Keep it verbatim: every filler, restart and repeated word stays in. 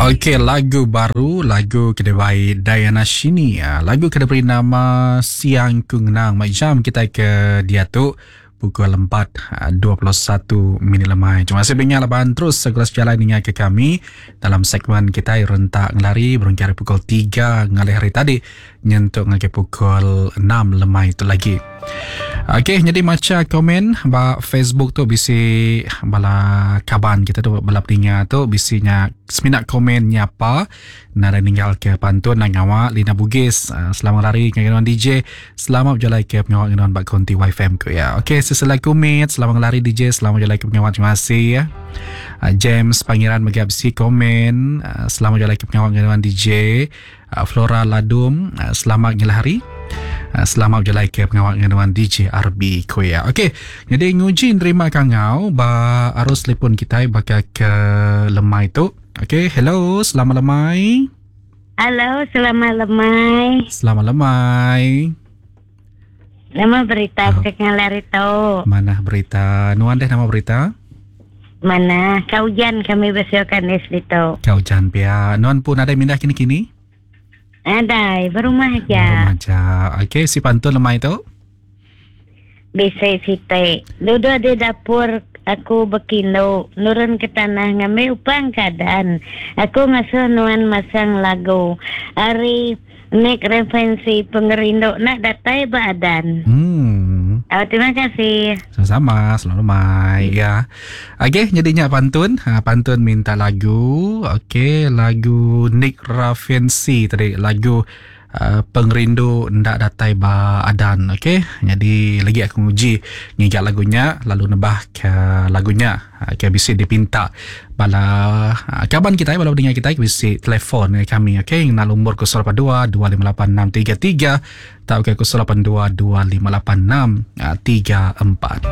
Okey, lagu baru, lagu ke dibai Diana Shini. Ah, lagu ke diberi nama Siang Ku Ngenang. Mai jam kita ke diatu pukul empat dua puluh satu minit lemai. Terima kasih banyak laban terus segera sejalai ninga ke kami dalam segmen kita rentak ngelari berengkah hari pukul tiga ngalih hari tadi nyentuk ngagai pukul enam lemai itu lagi. Okey, jadi maca komen ba Facebook tu bisi bala kaban kita tu bala peninga tu bisinya semina komen nyapa nara ninggal ke pantun nang awak Lina Bugis. Selamat lari dengan D J, selamat berjalan ke pengawak dengan bak konti Y F M ku ya. Okey, seselai kumit, selamat lari D J, selamat berjalan ke pengawak, terima kasih ya. James Pangeran mega bisi komen, selamat berjalan ke pengawak dengan D J. Flora Ladum, selamat ngelahari. Selamat berjalan ke pengawak dengan D J R B Koya. Okey, jadi nguji nerima kangau ba arus telefon kita bakal ke lemai tu. Okey, hello, selamat lemai. Halo, selamat lemai. Selamat lemai. Nama berita oh. Ke tu. Mana berita? Nuan deh nama berita? Mana? Kau hujan kami bersiapkan es itu. Kau hujan pia. Nuan pun ada mindah kini-kini? Ada, berumah aja. Berumah aja. Okey, si pantun lemai tu? Bisa siti. Duduk di dapur aku berkino, nurun ke tanah ngambil upang keadaan. Aku ngasuh nuan masang lagu. Hari nek referensi pengerindu nak datai badan. Hmm. Oh, terima kasih. Sama-sama, selalu mai ya. Okey, jadinya pantun, ha, pantun minta lagu. Okey, lagu Nick Raffensi tadi, lagu uh, pengerindu ndak datai ba adan. Okey, jadi lagi aku nguji ngigak lagunya lalu nebah ke lagunya. Okey, bisa dipinta bala kawan kita bala pendengar kita bisa telefon kami. Okey, nak nombor kosong lapan dua dua lima lapan enam tiga tiga atau ke kosong lapan dua dua lima lapan enam tiga empat.